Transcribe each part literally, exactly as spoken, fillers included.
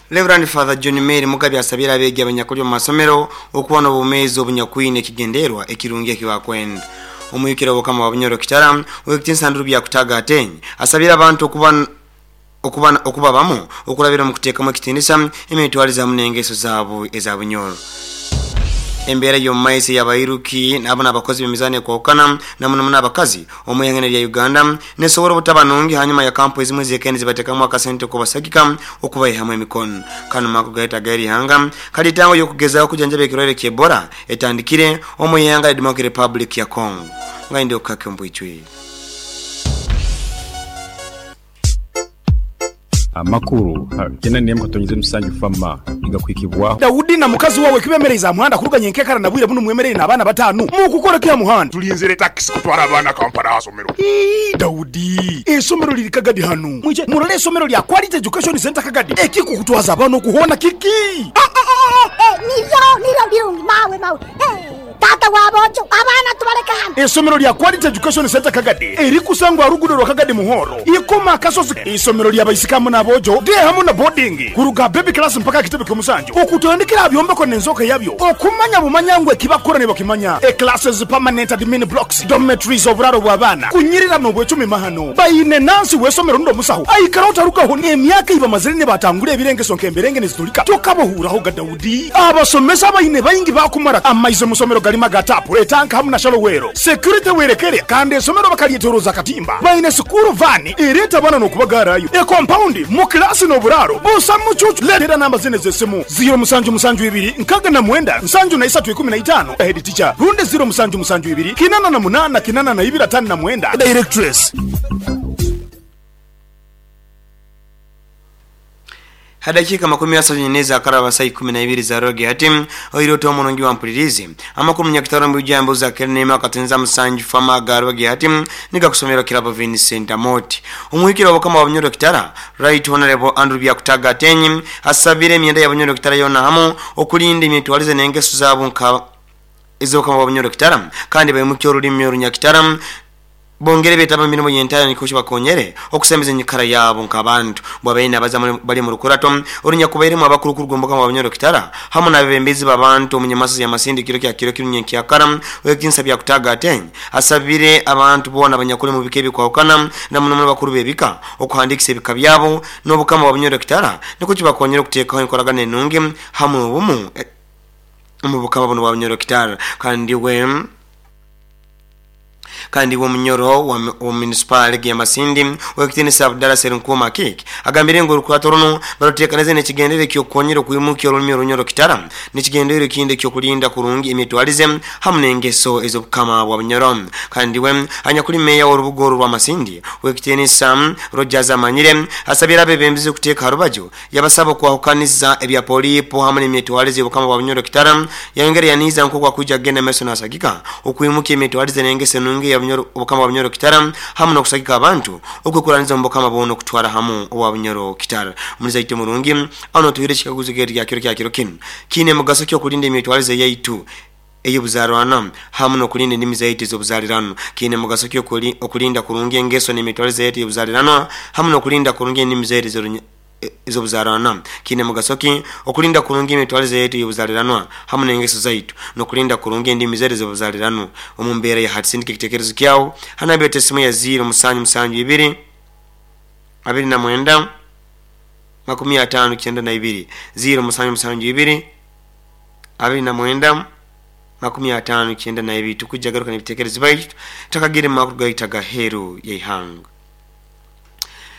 Reverend Father John Mary Mugabe asabira abeegi abanyakuli omu masomero okuba n'obumeezi obunyakwine ekigenderwa ekirungi ekibakwenda. Omwikira obukama wa Bunyoro Kitara ow'ekitiinisa Andrew Byakutaga Atenyi asabira abantu okuba okuba okuba bamu okulabira mu kuteekamu ekitiinisa emitwalize hamu n'engeso zaabo eza Bunyoro. Embeera y'omu maiso y'abairuki nabo n'abakozi b'emizaano ekwahukana na muno muno abakazi omu ihanga lya Uganda nesobora obutaba nungi hanyuma ya kampu ezimwe zekende zibateekamu akasente okubasagika okubaihamu emikono. Kanu mako gaita gairi ihanga kalitango y'okugezaho kujanjaba ekirwaire ky'Ebola etandikire omu ihanga lya Democratic Republic ya Congo. Ngainde okukake ombwijwire. Amakuru kyenda n'emu katonyeze musanju fama igakwikibwaho. Daudi na mukazi wawe kibemereza muhanda kuruganya enkekara na bwire buno mwemerere n'abaana batano mukukora kya muhanda. Tulinzire takisi kutwara abaana Kampala asomero. Ii, Daudi, esomero liri Kagadi hano, mwije murole esomero lya Quality Education Center Kagadi ekikukutwaza abaana okuhona kiki. Niryo niryo birungi mawe mawe. Eh, tata wabojo abaana tubaleka hano. Esomero lya Quality Education Center Kagadi erikusangwa rugudo rwa Kagadi Muhoro ikoma akasozi, isomero lya baisikamu n'abojo de hamu na boarding kuruga baby class mpaka kitebe ky'omusanju okutandikira byombeko n'enzoka yabyo okumanya bumanya ngwe kibakora ne bakimanya e classes, permanent admin blocks, dormitories, oburaro bw'abaana kunyirira n'obwecumi mahano bayine nansi w'esomero ndo musaho aikara otarugaho emyaka ibamazire ne batangura ebirengeso nk'emberenge nezitulika tokabohuraho ga Daudi. Abasomesa bayine bayingi bakumara amaize musomero galima gatapu etanka hamu na shalowero security werekere kandi esomero bakalyetoroza katimba bayine sukuru vani ereta bana n'okubagarayo e compound mu klasi n'oburaro busa mucucu. Letera namba zine z'esimu ziro musanju musanju ibiri nkaga na mwenda nsanju na isatu ikumi na itano head teacher runde ziro musanju musanju ibiri kinana na munana kinana na ibiri atano na mwenda directress. Hadakika makumi asatu nyeneza akaraba saa ikumi na ibiri za roge hati oiro to munongi wa mpulirizi amakuru munyakitaro mbujambo za kerne akatenza musanju fama garoge hati nika kusomera kirabo Vincent Amoti. Omuhikiro obukama wa Bunyoro Kitara Right Honorable Andrew Byakutaga Atenyi asabire emyenda ya Bunyoro Kitara yona hamu okulinda emitwalize n'engeso zaabo nka ez'obukama bwa Bunyoro Kitara kandi baimukye olulimi orunyakitara bongere betaba mirimo yentaya nikushi bakonyere okusembeza enyikara yabo nk'abantu bwabaine abaza bali mu rukurato orunyakubairemu abakuru gomboka mu Bunyoro Kitara hamu n'abebembezi b'abantu omunyamasi ya Masindi kiro kya kiro kirunye kyakara wekinsa bya kutaga Atenyi asabire abantu bona abanyakuli mu bike bikwahukana na muno muno bakuru bebika okuhandikisa ebika byabo n'obukama bwa Bunyoro Kitara nikuki bakonyere okuteekaho enkoragana enungi hamu obumu mu bukama buno bwa Bunyoro Kitara. Kandi we kandi wo munyoro wa, wa municipal ya Masindi wekitinisa Abdalla Serunkuma Kik agambire ngo rukurato runo barutekaneze n'ekigendere kyokonyera okwimukia olulimi orunyoro Kitara n'ekigendere kinde kyokulinda kurungi emitwalize hamu n'engeso ez'obukama bwa Bunyoro. Kandi we anyakuli meya w'orubuga rwa Masindi wekitinisa Rogers Amanyire asabira abebembezi okuteeka harubaju yabasaba okwahukaniza ebya polipo hamu n'emitwalize y'obukama bwa Bunyoro Kitara yayongera yaniza nk'oku akwijja kugenda maiso n'asagika okwimukia emitwalize n'engeso enungi ya Bunyoro obukama bwa Bunyoro Kitara hamu n'okusagika abantu okwekuraniza mu bukama bono okutwara hamu obwa Bunyoro Kitara. Muliza ite murungi ano tuhire chikaguzo kya kiro kya kiro kinu kine mugaso kyo kulinda emitwalize yaitu ey'obuzarwana hamu n'okulinda endimi zaitu ez'obuzalirano. Kine mugaso kyo okulinda kurungi engeso n'emitwalize yaitu ey'obuzalirano hamu n'okulinda kurungi endimi zaitu ez'obuzalirano. Kine mugaso ki okulinda kurungi emitwalize yaitu ey'obuzaliranwa hamu n'engeso zaitu n'okulinda kurungi endimi zaitu ez'obuzalirano omu mbeera ya hati. Sindika ekitekerezo kyawo hanabete esimu ya ziro musanju musanju ibiri abiri na mwenda makumi atano kyenda na ibiri ziro musanju musanju ibiri abiri na mwenda makumi atano kyenda na ibiri. Tukujja garuka n'ebitekerezo baitu takagire makuru gaitaga heru y'ihanga.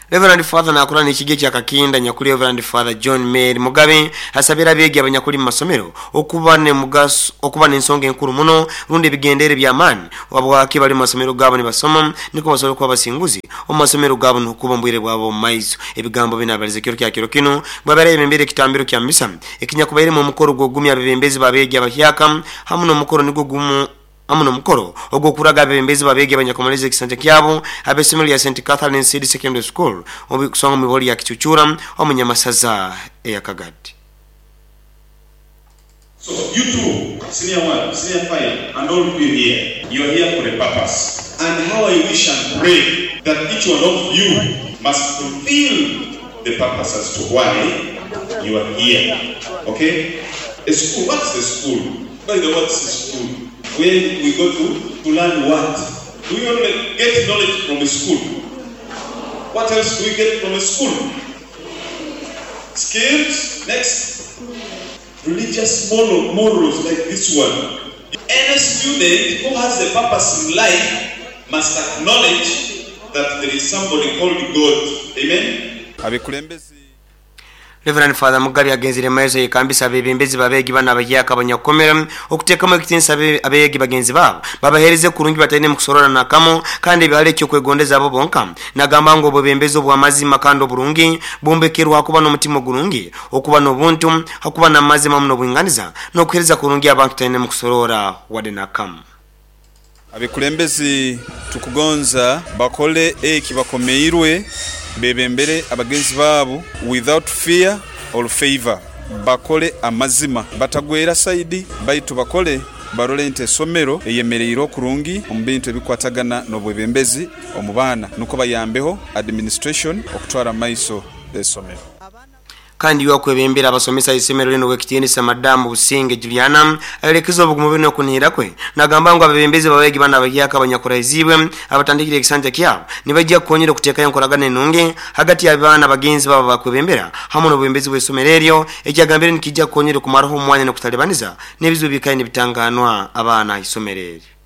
Reverend Father nakura n'ekige kya Kakinda nyakuli Reverend Father John Mary Mugabe asabira abeegi abanyakuli mu masomero okuba ne mugaso okuba n'ensonga enkuru muno rundi ebigendere by'amaani wabwaki bali mu masomero gaabo nibasoma niko basobola okuba abasinguzi omu masomero gaabo n'okuba mbwire bwabo omu maiso. Ebigambo bino abalize kiro kya kiro kino bwabera ebembere ekitambiro kya misa ekinyakubairemu omukoro gw'ogumya abebembezi b'abeegi abahyaka hamu n'omukoro nigwo gumu hamu n'omukoro ogw'okuraga abebembezi b'abeegi abanyakumaliza ekisanja kyabo ab'essomero lya Saint Catherine Seed Secondary School okusonga mu ibori ya Kichuchura omunyamasaza eya Kagadi. So you two, senior one, senior five, and all of you here, you're here for a purpose. And how I wish and pray that each one of you must fulfill the purpose as to why You are here. Okay? A school, what's a school? By the way, what's a school? Where we go to, to learn what? Do we only get knowledge from a school? What else do we get from a school? Skills. Next. Religious moral, morals like this one. Any student who has a purpose in life must acknowledge that there is somebody called God. Amen? Reverend Father Mugabe agenzire maiso yekambisa abebembezi babegi bana abahyaka abanyakukomera okuteekamu ekitiinisa abeegi bagenzi baabo babaheereze kurungi bataine mukusorora nakamo kandi bihale ekyokwegondeza abo bonka. Nagamba ngu obwebembezi obw'amazima kandi oburungi bumbekerwa kuba n'omutima ogurungi, okuba n'obuntu, hakuba n'amazima muno obwinganiza n'okuheereza kurungi abantu taine mukusorora wadde nakamu. Abekulembezi tukugonza bakole eki bakomeirwe bebembere abagenzi baabo without fear or favor, bakole amazima batagwera saidi baitu bakole barole nti esomero eyemereire okurungi omu bintu ebikwatagana n'obwebembezi omu baana nuko bayambeho administration okutwara maiso esomero. Kandi yuwakwebembera abasomesa isomero lino wekitiinisa Madamu Businge Juliana ayolekeza obugumu bino okunihira kwe nagamba ngu abebembezi babegi bana abahyaka abanyakuraizibwe abatandikire ekisanja kyabo nibajja kukonyera okuteekayo enkoragana enungi hagati y'abaana bagenzi babo bakwebembera hamwe n'obwebembezi bw'isomero eryo ekyagambire nikijja kukonyera okumaraho omwanya n'okutalibaniza n'ebizibu bikaye nibitanganwa abaana isomero eryo.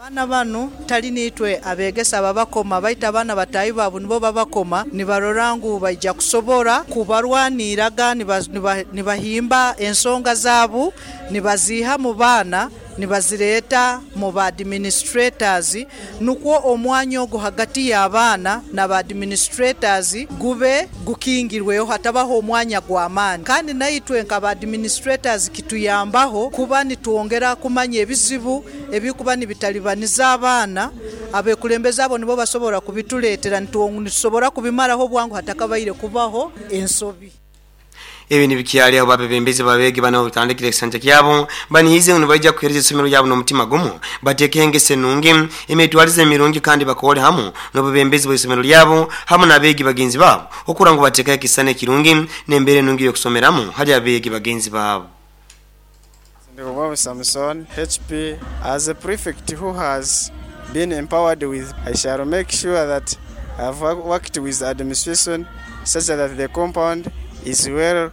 Abaana bano tali nitwe abegesa babakoma baita abaana batayi baabo nibo babakoma nibarora ngu baija kusobora kubarwaniraga nibahimba ensonga zaabo nibaziha mu baana nibazireeta mu ba administrators nukwo omwanya ogwo hagati y'abaana n'aba administrators gube gukingirweho hatabaho omwanya gw'amaani. Kandi naitwe nk'aba administrators kituyambaho kuba nitwongera kumanya ebizibu ebikuba nibitalibaniza abaana abekulembeza abo nibo basobora kubituleetera nitusobora kubimaraho bwangu hatakabaire kubaho ensobi. Ebi nibikyali aho babebembezi babegi bana obutandikire ekisanja kyabo banihize ngu nibaija kuheereza isomero lyabo n'omutima gumu bateeke engese nungi emitwarize emirungi kandi bakole hamu n'obubembezi bw'isomero lyabo hamu n'abeegi bagenzi baabo okura ngu bateekayo ekisana ekirungi n'embeera enungi y'okusomeramu hali abeegi bagenzi baabo. Samson H P, as a prefect who has been empowered with, I shall make sure that I've worked with administration such that the compound is well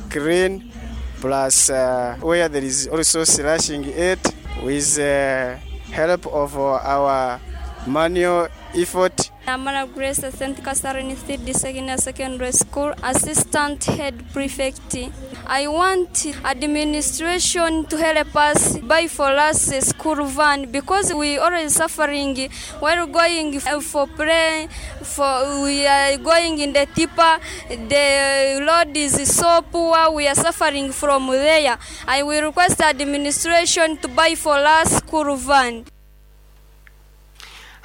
clean, plus uh, where there is also slashing it with the uh, help of our manual effort. Amara Grace, Saint Catherine Third Secondary Secondary School, Assistant Head Prefect. I want administration to help us buy for us a school van because we already suffering while going for play, for we are going in the tipper. The road is so poor, we are suffering from there. I will request administration to buy for us school van.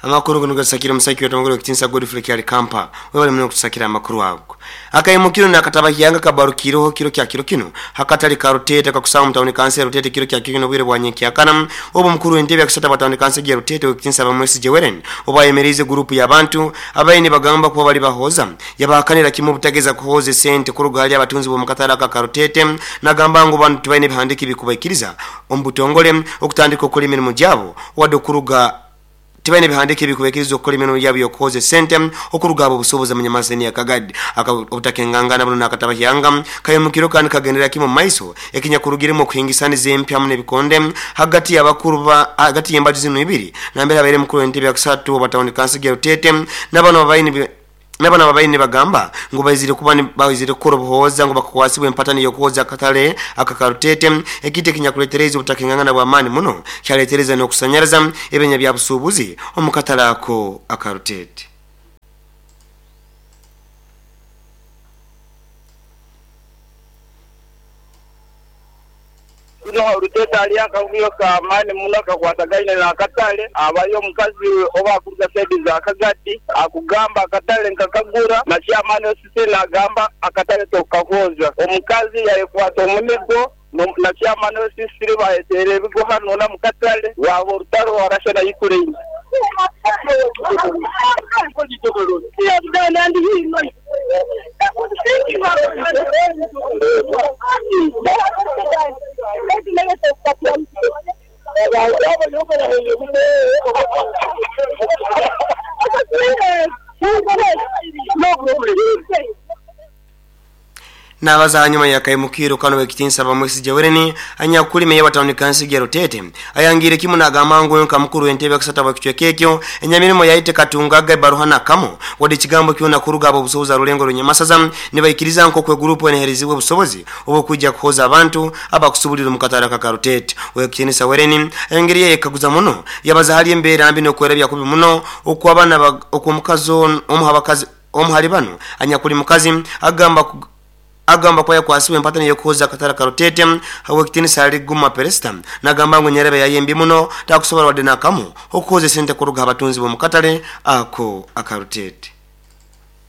Amakuru guno gasakira musaki wetu kitinsa Godfrey Kyali Kampa webale muno kutusakira amakuru ago. Akayimukiro nakataba hyanga kabarukiroho kiro kya kiro kino hakatali karutete kakusaba mutawuni kanse Rutete kiro kya kino bwire bwa nyekyakana obo mukuru w'entebe yakusata batawuni kanse ya Rutete kitinsa bamwesi Jeweren obayemerize group y'abantu abayini bagamba kuba bali bahoza yabahakanira kimu butageza kuhoze sente kuruga hali abatunzi bo mukatala ka Karutete nagamba ngo bantu bayine bihandiki bikubaikiriza ombutongole okutandika okuli emirimu gyabo wadde okuruga tibaine bihandike bikubekiriza okukola emirimu gyabo y'okuhoza esente okuruga abo obusobozi munyamaseni ya Kagadi obutakengangana buno nakataba hyanga kayimukiro kandi kagendera kimu maiso ekinyakurugiremu okuhingisaniza empya mu n'ebikonde hagati y'abakuru ba hagati y'embaju zino ibiri nambere abaire mukuru w'entebe yakusatu obatawuni kansi ya Rutete n'abano babaine n'abana babaine bagamba ngo baizire kuba baizire kukora obuhoza ngo bakukwasibwe empatani y'okuhoza akatale akakarutete ekite kinyakuletereza obutakengangana bw'amaani muno kyaletereza n'okusanyaraza ebenya bya busuubuzi omukatale ako akarutete. Kuno Rutete ali akavuyo ka amani muno kakwatagaine n'akatale abayo omukazi oba akuruga saidi za Kagadi akugamba akatale nkakagura na chairman osisi nagamba akatale tokahoza omukazi yayekwata omunigo na chairman osisi bayetere ebigo hano na mukatale wabo orutaro warasha na Ukraine. Nabaza hanyuma ya kaimukiro kano wekitinsa bamwesi jewereni anyakuli meya wa town council ya Rutete ayangire kimu nagamba ngo nka mukuru entebe kusata bakichwekekyo enyamirimo yaite katungaga baruhana kamo wadi kigambo kyona kuruga abo busoboza rulengo runyamasaza nibaikiriza nko kwe group eneherizibwe busobozi obo kujja kuhoza abantu abakusubulira mu katara ka Rutete. Wekitinsa wereni ayangiriye yekaguza muno yabaza hali embera mbi no kwerabya kubi muno okwabana okomukazo omuhabakazi omuhali bano anyakuli mukazi agamba agamba kwa yakwasiwe empatani yokuhoza katara Karutete hawe sali guma peresta nagamba ngo nyerebe yayembi muno takusobola wadde nakamu okuhoza sente kuruga abatunzi bo mukatale ako akarutete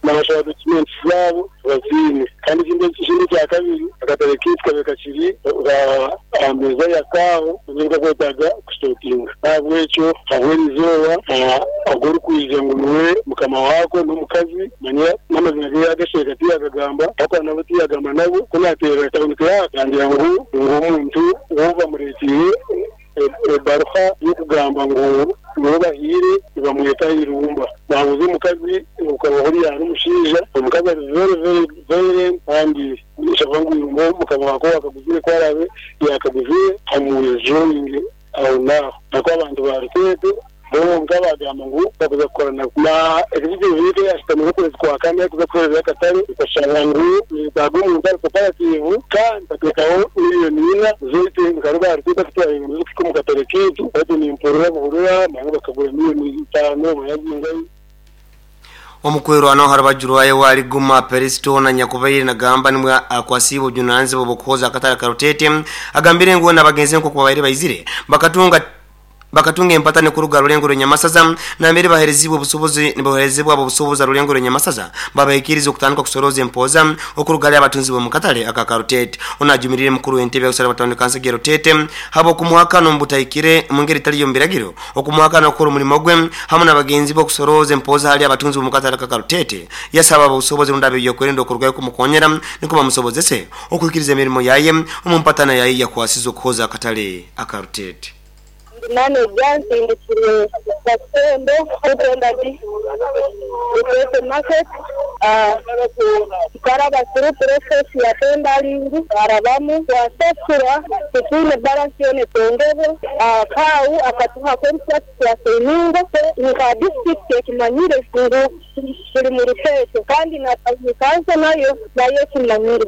nabashaka documents zabo bazine kandi ikindi ikindi cya kabiri akatare kitwa bekakiri ameza ya kaho nibwo kwetaga kustokinga ntabwo habwerizoba agora kuija ngo niwe mukama wako n'omukazi manya n'amazina ge yagasheka tiyagagamba ako nabo tiyagamba nabo kunatera town clerk yangira ngo omuntu wo bamuretire ebaruha yokugamba ngo nibo bahire bamweta irumba nabuze omukazi ukaba hori ari umushinja omukazi ari very very very kandi nishava ngo irumba mukaba wako akaguzire kwarabe yakaguzire amujoining aho naho nako abantu barutete bo ngabagamba ngo bakuza gukorana na executive yite yashitamye ukwezi kwa kane kuza kuhereza akatare ikashanga ngo nitago umuntu ari cooperative kandi batekaho miliyoni ina zote nkaruba rutete kutwara ibintu zo mu katare kitu bati ni imporura buhurura naho bakagura miliyoni itano bayazingayo. Omukwero ano harabajurwaye wali guma peristo na nyakubaire nagamba nimwe akwasibo junanze bobukoza akatare Karutete agambire ngo nabagenze nko kubaire baizire bakatunga bakatunga empatane kuruga rulengo runyamasaza na mbere baherezibwe obusobozi niboherezibwa abo busoboza rulengo runyamasaza babaikiriza okutandika kusoroza empoza okuruga abatunzi bo mukatale aka Karutete. Onajumirire mukuru w'entebe y'okusala batandika kansa Rutete habo kumuhaka nombutaikire mungeri taliyo mbiragiro okumuhaka nokora omulimo gwe hamwe n'abagenzi bo kusoroza empoza hali abatunzi bo mukatale aka Karutete yasaba abo busobozi rundabe yokwerinda okurugayo kumukonyera niko bamusobozese okuikiriza emirimo yaye omumpatana yaye yakwasiza okuhoza akatale aka Rutete. Manager nsindikire Kasembo kutenda di Rutete market tukaraba through process ya tendering arabamu twasasura tutine balance yone tongeze kau akatuha contract ya seningo nka district ekimanyire ngu tuli mu Rutete kandi na council nayo nayo kimanyire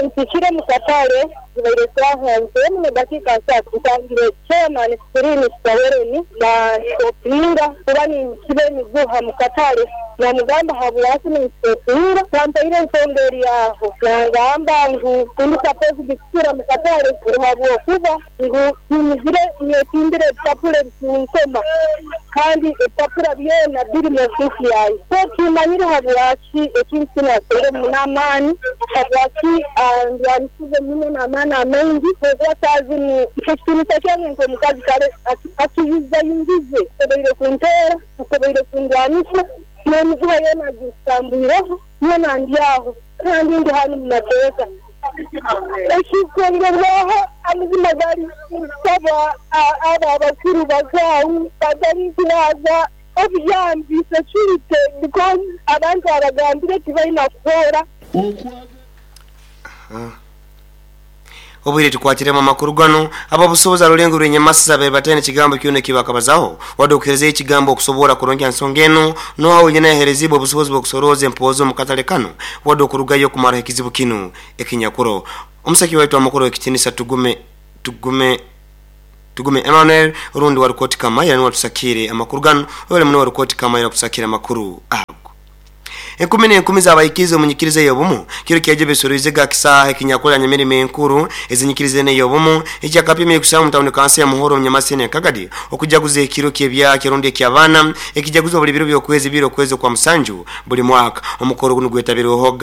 ntikire mu katale zibaire saha mu dakika nsatu ntangire chairman Sirini Sawereni na Opinga kuba ni kibe miguha mu katale na mugamba habwasi ni Opinga kampaire ensonga yaho nangamba ngu kundi suppose bikusura mu katale habwo kuba ngu nimizire nyetimbire ebipapura ebikunsoma kandi ebipapura byona biri mu ofisi yaye so kimanyire habwaki ekintu kinasere munamaani habwaki ndwanisize muno n'amaani amaingi kuba tazi ni ekitinisa kyange nk'omukazi kale akiyizayingize obeire kunteera obeire kundwanisa n'emiguha yoona agisambuireho yoona ndyaho kandi ndi hanu mu mateeka ekikongerwaho amazima gali nsaba abo abakuru bakaawu batarikiraza obuyambi security because abantu abagambire tibalina kuhoora. Obwire tukwatire amakuru gano ababusoboza rulengo rwenyamasa be batene kigambo kyone kibakabazaho wadokereze ekigambo okusobola kurongya nsonga eno no awo nyene yaherezibwe obusobozi bw'okusoroza empozo mu katale kano wadokurugayo kumara ekizibu kino ekinyakuro. Omusaki waitu amakuru ekitinisa tugume tugume tugume Emmanuel rundi warukoti kama ni watusakire amakuru gano wale muno warukoti kama ira kusakira amakuru ago. Enkumi n'enkumi z'abayikize omunyikirize y'obumu kiro kyaje besoroize ga kisaha ekinyakola nyamirimo enkuru ezinyikirize n'ey'obumu ekyakapimye kusaba mu tawuni kansi ya Muhoro Nyamasene Kagadi okujaguza ekiro ky'ebya kirundi eky'abaana ekijaguza buli biro by'okwezi biro okwezi kwa musanju buli mwaka. Omukoro guno gwetabirweho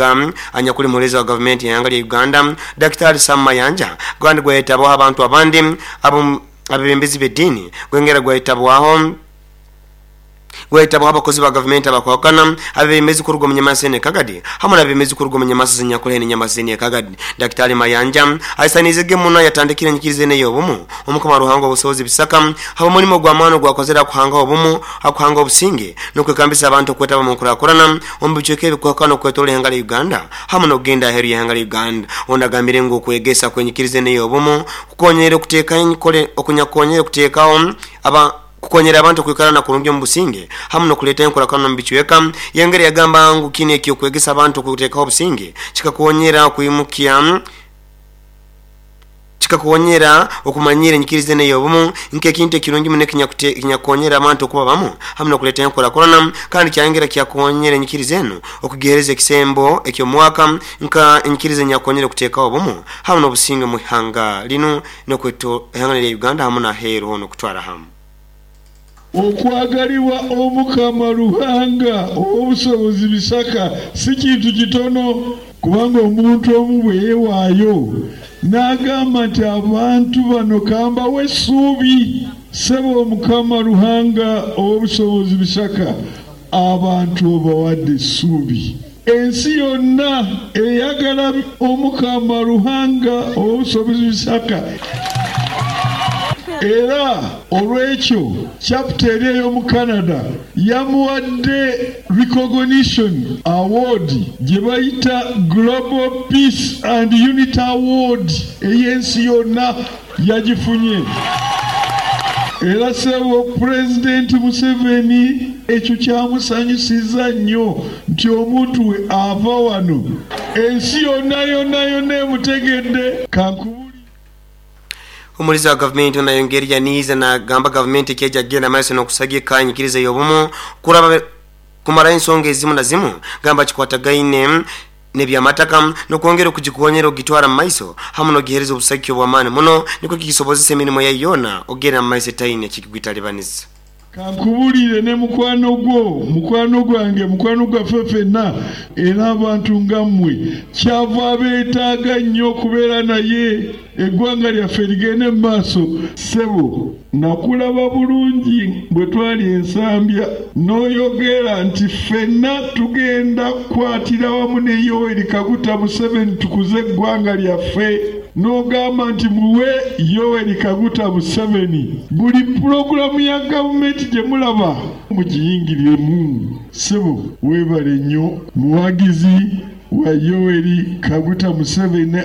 anyakuli mulezi wa gavumenti y'eihanga lya Uganda Daktari Sam Mayanja gwandi gwetabaho abantu abandi abo abebembezi b'eddiini gwengera gwetabwaho Gwaitabu abakozi ba gavumenti abakwakana abemezi kuruga mu Nyamasene Kagadi hamwe n'abemezi kuruga mu Nyamasa Nyakuleni Nyamasene Kagadi. Daktari Mayanja aisanizege muno yatandikire nyikirize neyo obumu omukama Ruhanga obusobozi bisaka haba mulimo gwa mano gwakozera kuhanga obumu akuhanga obusinge nokwekambisa abantu okwetaba mu nkurakurana omu bichweka ebikwakana okwetola ihanga lya Uganda hamwe n'okugenda aheru y'ihanga lya Uganda. Ondagambire ngu okwegesa kwenyikirize neyo obumu kukonyera okuteeka enkole okunyakonyera okuteekawo aba kukonyera abantu kwikara kurungi mu businge hamwe nokuleta enkorakano mu bichweka. Yengere yagamba ngu kine ekyo kwegesa abantu kuteekaho obusinge kikakonyera kuimukia kikakonyera okumanyira enyikirize neyo obumu nk'ekintu ekirungi muno ekinyakonyera abantu okuba bamu hamwe nokuleta enkorakorana kandi kyayongera kyakonyera enyikirize eno okugihereza ekisembo eky'omwaka nka enyikirize nyakonyera okuteekaho obumu hamwe n'obusinge mu ihanga lino n'okweto ihanga lya Uganda hamwe n'aheeru hono okutwara hamu. Okwagalibwa Omukama Ruhanga ow'obusobozi bisaka si kintu kitono, kubanga omuntu omu bwe yeewaayo n'agamba nti abantu bano kambawe essuubi. Ssebo Omukama Ruhanga ow'obusobozi bisaka, abantu obawadde essuubi. Ensi yonna eyagala Omukama Ruhanga ow'obusobozi bisaka. Era olw'ekyo chapter eri ey'omu Canada yamuwadde recognition award gye bayita Global Peace and Unity Award ey'ensi yonna yagifunye. Era ssebo Pulezidenti Museveni ekyo kyamusanyusiza nnyo nti omuntu we ava wano ensi yonna yonna yonna emutegedde. Kankubu Omulizi wa gavumenti onayongeri yaniiza nagamba gavumenti ekyeja genda maiso n'okusagika enyikiriza y'obumu kuraba kumara ensonga ezimu na zimu gamba kikwatagaine n'ebyamataka n'okwongera okugikonyera ogitwara mu maiso hamwe n'ogihereza obusagiki obw'amaani muno nikwo kikisobozesa emirimu yayo yona ogenda mu maiso etaine kikigwitalibaniza. Kankubulire ne mukwano gwo, mukwano gwange, mukwano gwaffe ffenna, era abantu nga mmwe kyava abeetaaga nnyo okubeera naye eggwanga lyaffe ligende mu maaso. Ssebo nakulaba bulungi bwe twali Ensambya n'oyogera nti ffenna tugenda kukwatira wamu ne Yoweri Kaguta Museveni tukuze eggwanga lyaffe. N'ogamba nti muwe Yoweri Kaguta Museveni buli pulogulaamu ya gavumenti gye mulaba mugiyingiriremu. Ssebo weebale nnyo, muwagizi wa Yoweri Kaguta Museveni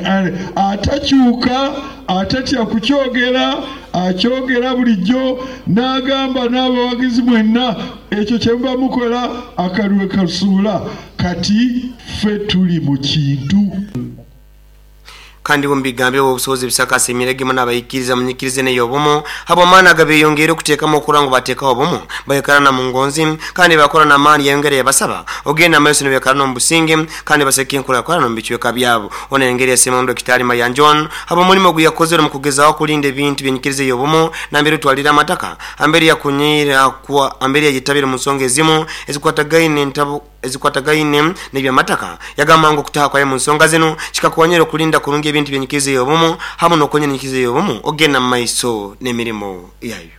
atakyuka, atatya kukyogera, akyogera bulijjo n'agamba n'abawagizi mwenna ekyo kye muba mukola akalwe kasuula. Kati ffe tuli mu kintu. Kandi mu bigambo obusobozi bisaka asimirege muno abayikiriza munyikirize neyo obumu habw'amaani agabeyongere okuteekamu okura ngu bateekaho obumu bayekarana mu ngonzi kandi bakora n'amaani. Yayongere yabasaba ogenda amaiso nibekarana omu businge kandi baseka enkurakurana omu bicweka byabo. Ono yayongere yasiima Dokitari Mayanja habw'omulimu ogu yakozere mu kugezaho kulinda ebintu byenyikirize y'obumu nambere otwalire amataka ambere yakunyira kuwa ambere yayitabire mu nsonga ezimu ezikwatagaine entabu ezikwatagaine n'ebyamataka. Yagamba ngu okutaha kwaye mu nsonga zino kikakonyera okulinda kurungi ebintu byenyikirize y'obumu hamwe n'okonyera enyikirize y'obumu ogenda mu maiso n'emirimu yayo.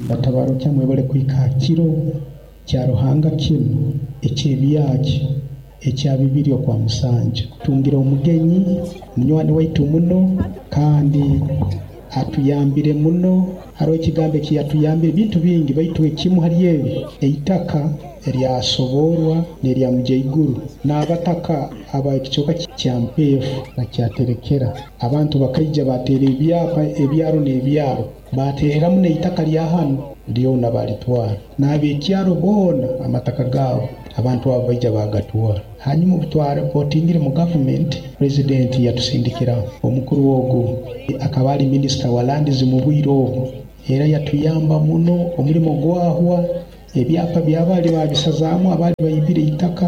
Batabaro kyamwe bale kwika kiro kya Ruhanga kinu ekyebyaki ekya bibiri okwa musanju tungira omugenyi munywani waitu muno kandi atuyambire muno. Hariho ekigambo ekiyatuyambire bintu bingi, baitu ekimu hali ebi eitaka eryasoborwa n'erya Mujaiguru n'abataka aba ekicweka kya Mpeefu bakyaterekera abantu bakaija bateera ebyapa ebyaro n'ebyaro bateereramu n'eitaka lya hanu lyona balitwara n'abekyaro boona amataka gaabo abantu abo baija bagatwara. Hanyuma obutwaripotingire mu gavumenti, purezidenti yatusindikira omukuru ogu akaba ali minisita wa lands mu bwire obwo, era yatuyamba muno omulimo gwahwa ebyapa byabali babisazaamu abali baibire eitaka.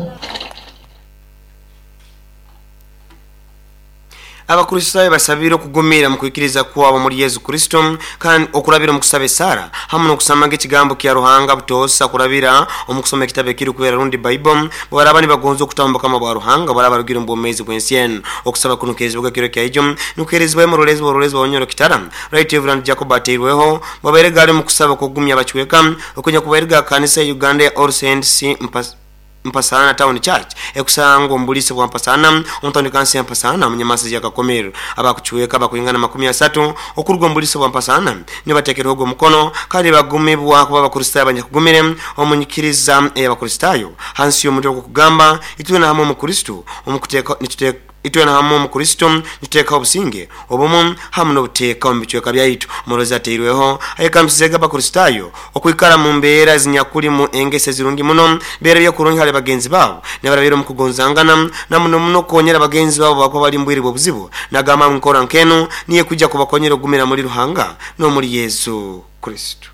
Abakristaayo basabire okugumira mu kwikiriza kwabo muri Yesu Kristo kandi okurabira mu kusaba esara hamwe n'okusamaga ekigambo kya Ruhanga butosa kurabira omu kusoma ekitabo ekiri kwera rundi Bible baraba nibagonza okutamba kama bwa Ruhanga baraba rugira mu bwomezi bw'ensi eno. Okusaba kuno kezibwa kiro kya ijo nukerezibwa mu rulezi rulezi wa Kitara Right Reverend Jacob Ateirweho babaire gari mu kusaba kugumya abacweka okunya kubairga kanisa ya Uganda ya All Saints Mpas Mpasana Town Church ekusangwa mbulisi bwa Mpasana omutandi kansi ya Mpasana munyamasi ya Kakomero abakuchweka bakuyingana makumi asatu okurugwa mbulisi bwa Mpasana nibatekerwa mukono kandi bagumibwa kuba Abakristayo abanyakugumire omunyikiriza y'Abakristayo hansi y'omutwe kugamba itwe na hamwe mu Kristo omukuteka nituteka itwe na hamwe mu Kristo nituteka obusinge obumu hamwe n'obuteeka mu bicweka byaitu. Murozi ateirweho ayekambisega Abakristayo okwikara mu mbeera zinyakuli mu engese zirungi muno beera byakurungi hali bagenzi babo nebarabira mu kugonzangana na muno muno konyera bagenzi babo bakwa bali mbwiri obuzibu nagamba nkora nkeno niye kujja kubakonyera ogumira muri Ruhanga no muri Yesu Kristo.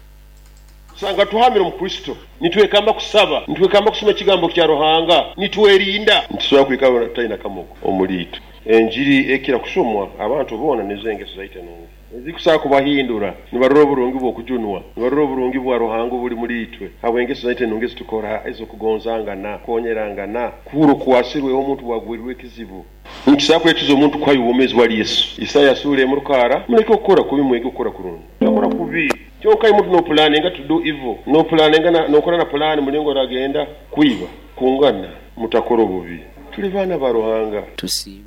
Sanga tuhamira mu Kristo nitwekamba kusaba nitwekamba kusoma ekigambo kya Ruhanga nitwerinda ntusobola kwikaba talina kamogo omuliito enjiri ekira kusomwa abantu bona nezengeso zaite nungu ezikusaba kubahindura nibarora oburungi bw'okujunwa nibarora oburungi bwa Ruhanga obuli muri itwe habwengeso zaite nungu ezitukora ezokugonzangana konyerangana kuhura okuwasirwe omuntu bwagwirwe ekizibu nkisaba kwekiza omuntu kwayo obwomezi bwa Yesu. Isaya sura emurukara muleke okukora kubi mwege okukora kurungi okora kubi kyoka imuntu no planning to do evil no planning na no kora na plan mulingo ragenda kuiba kungana mutakora obubi tuli bana ba Ruhanga tusima.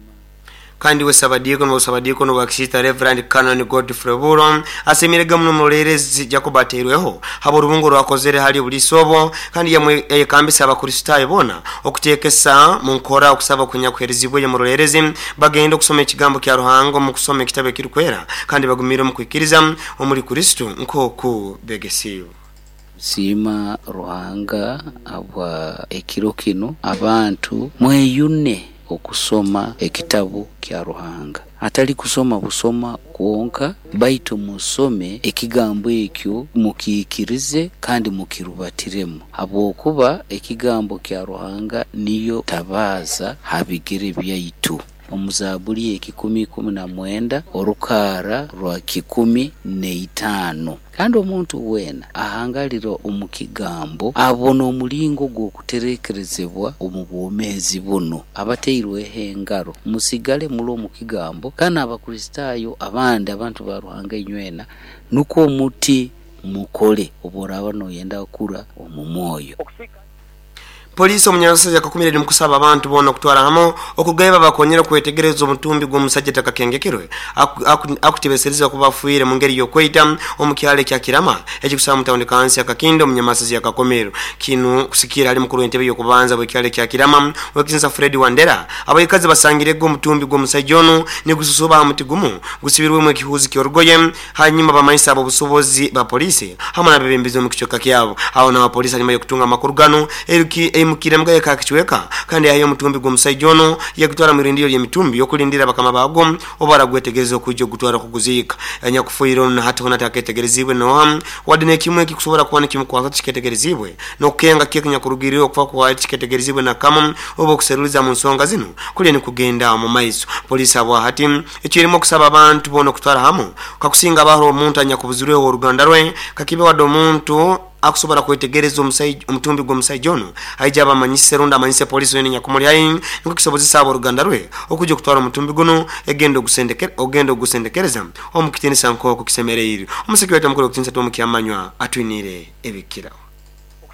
Kandi we sabadiko no sabadiko no wakisita Reverend Canon Godfrey Buro asemirega muno mulerezi Jacob Ateirweho habo rubungo rwakozere hali bulisobo kandi yamwe yekambisa Abakristayo bona okutekesa mu nkora okusaba kunyakuherezibwe mu rulerezi bagenda okusoma ekigambo kya Ruhanga mu kusoma ekitabo ekirikwera kandi bagumire mu kwikiriza omuri Kristo nkoku begesiyo. Sima Ruhanga abwa ekiro kino abantu mweyune okusoma ekitabo kya Ruhanga atali kusoma busoma kwonka baitu musome ekigambo ekyo mukikirize kandi mukirubatiremu habwokuba ekigambo kya Ruhanga niyo tabaza habigere byaitu. Omuzaburi ekikumi kumi na mwenda orukara rwa kikumi neitano kandi omuntu wena ahangalira omukigambo abona omulingo gw'okuterekerezebwa omu bwomezi buno abateirweho engaro musigale mulo omukigambo kandi Abakristayo abandi abantu ba Ruhanga inywena nuko omuti mukole oboraba noyenda kura omu mwoyo. Polisi omunyansi yakakumire ni mukusaba abantu bona okutwara hamo okugaiba bakonyera kwetegereza omutumbi gw'omusajja takakengekerwe akutebesereza kubafuire mu ngeri y'okweita omukyalo kya Kirama ekikusaba mu tawuni kansi Akakindo omunyamasi yakakomero kinu kusikira ali mukuru w'entebe y'okubanza bw'ekyalo kya Kirama wekisinsa Fred Wandera abayikazi basangirego omutumbi gw'omusajja ono nigususuba amuti gumu gusibirwemu ekihuzi ky'orugoye hanyuma bamanyisa abo busobozi ba polisi hamwe n'abebembezi omu kichweka kyabo. Aho n'abapolisi hanyuma y'okutunga amakuru gano eruki emukire mga yakakichweka kandi ayo mutumbi gw'omusajja ono yagutwara mu rindiro ly'emitumbi yokulindira bakama bago obara gwetegereza okujja ogutwara kuguziika anyakufuira ono hata hona taketegerezibwe noha wadde kimwe kikusobola kuba nekimukwasa kiketegerezibwe n'okukenga kyekinyakurugirira okufa kwa kiketegerezibwe nakamu oba okuseruliza mu nsonga zino kulye nikugenda mu maiso. Polisi abwa hati ekirimu okusaba abantu bona okutwara hamu kakusinga abaho omuntu anyakubuzirweho oruganda rwe kakibe wadde omuntu akusobola kwetegereza omusajja omutumbi gw'omusajja ono aija abamanyise runda amanyise polisi yene nyakumuli ayi niko kisobozesa abo oruganda rwe okujja okutwara omutumbi guno egenda ogusendekera ogenda ogusendekereza omukitinisa nk'oku kisemereire. Omusiki wetu mukuru okutinisa tw'omukyamanywa atwinire ebikirawo.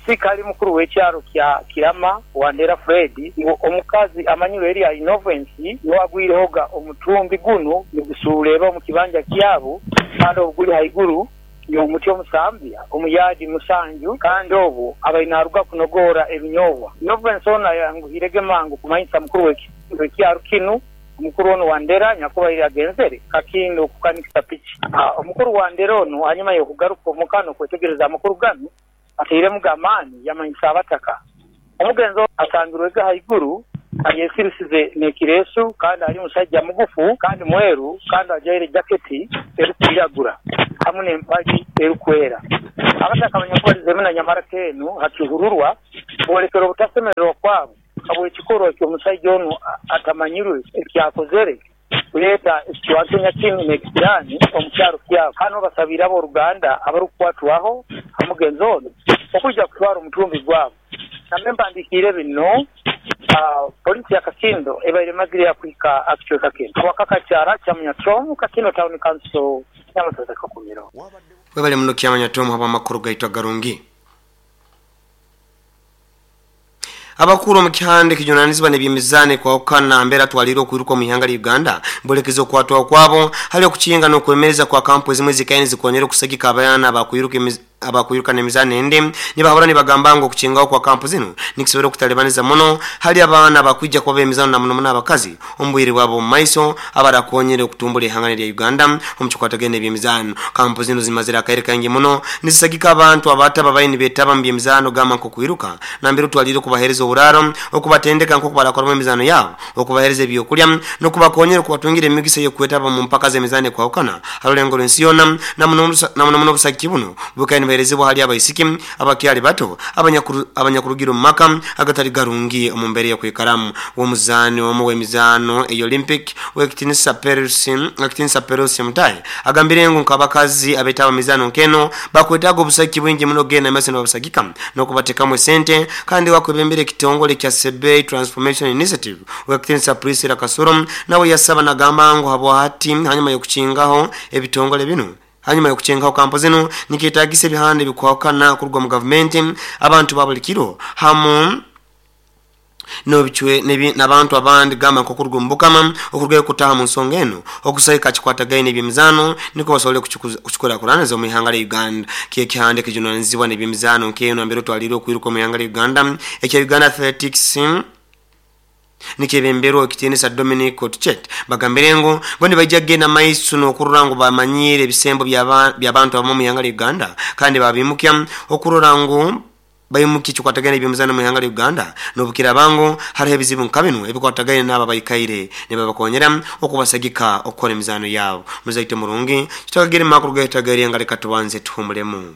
Sikali mukuru w'ekyaro kya Kirama Wandera Fred omukazi amanyirwe eri Innovensi niwagwirehoga omutumbi guno nigusuuleba omu kibanja kyabo kandi obuguli haiguru yomuti omusambya omuyadi musanju kandi obwo abainaruga kunogora ebinyobwa. Innovensi ona yanguhirege mangu kumanyisa mukuru w'ekyaro kinu omukuru ono Wandera nyakuba iri agenzere kakindo okukanikisa piki. Omukuru Wandera ono hanyuma y'okugaruka omukano kwetegereza amakuru gano ateiremu gamaani yamanyisa abataka. Omugenzi asangirwega haiguru ayesirisize n'ekireesu kandi ali musajja mugufu kandi mweru kandi ajaire jaketi erikwiragura hamwe n'empagi erikwera. Abataka abanyakubarizemu na nyamara kenu hakihururwa bolekera obutasemererwa kwabo habw'ekikorwa ky'omusajja ono atamanyirwe ekyakozere Kuleeta ekicwankenya kinu n'ekisiraani omu kyaro kyabo. Hano basabire abooluganda abarukukwatwaho omugenzi ono okwija kutwara omutumbi gwabo. Nambe mpandiikire bino, ah, poliisi ya Kakindo ebaire emazire yakuhika akicweka kinu. Wakakakyara kya Munyatomu, Kakindo Town Council, Nyamasaza Kakumiro. Webale muno Kyamanya Tom habw'amakuru gaitu agarungi. Abakuru mu kihande kijunanizibwa n'ebyemizano kwawukana mbera twalire okwiruka mu ihanga lya Uganda bolekeza okwatwa kwabo hali okukinga n'okwemereza kwa kampu ezimwe zikaini zikonyera okusagika abaana abakwiruka abakwiruka n'emizano ende nibahora nibagamba ngo okukingaho kwa kampu zino nikisobora okutalibaniza muno hali abaana abakwija kuba emizano na muno muno abakazi omubwire bwabo mu maiso abarakonyere okutumbula ihanga lya Uganda omu kikwatagene n'ebyemizano. Kampu zino zimazire akaire kaingi muno nizisagika abantu abataba baini betaba mu byemizano gamba nk'okwiruka nambere twalire okubahereza oburaro okubatendeka nk'oku barakoramu emizano yabo okubahereza ebyokulya n'okubakonyera okubatungira emigisa y'okwetaba mu mpaka z'emizano ekwahukana harulengo lw'ensi yona na muno na muno muno obusagiki buno bukaine buherezibwa hali abaisiki abakyali bato abanyakurugira omu maka agatali garungi omu mbeera y'okwikaramu. W'omuzaani omu w'emizaano ey'Olympic w'ekitinisa Perusi w'ekitinisa Perusi Mutai agambire ngu nk'abakazi abetaba mizaano nkeno bakwetaaga obusagiki bwingi muno genda maiso n'obusagika n'okubatekamu esente kandi wakwebembera ekitongole kya Sebei Transformation Initiative w'ekitinisa Priscilla Kasuro nawe yasaba nagamba ngu habwati hanyuma y'okukingaho ebitongole bino hanyuma y'okuchengaho kampo zino niketagisa ebihande bikwakana kuruga mu gavumenti abantu babuli kiro hamu nobichwe n'abantu abandi gamba nkokuruga mu bukama okurugayo kutaha mu nsonga eno okusayika kikwatagaine ebyemizano niko basobole kuchukura kuraniza mu ihanga lya Uganda. Kiye kihande kijunanizibwa n'ebyemizano nkeno ambere twalire okwiruka mu ihanga lya Uganda ekya Uganda Athletics nikebembero ekitiinisa Dominic Otchet bagambire ngo bo nibajja kugenda maiso n'okurora ngu bamanyire ebisembo by'abantu abamu mu ihanga lya Uganda kandi babimukya okurora ngu bayimuki kikwatagana ebyemizano mu ihanga lya Uganda n'obukira bango hariho ebizibu nka bino ebikwatagana n'aba bayikaire nibabakonyera okubasagika okukora emizano yabo. Muzaite murungi kitwagire makuru gaitagari nga reka tubanze tuhumulemu.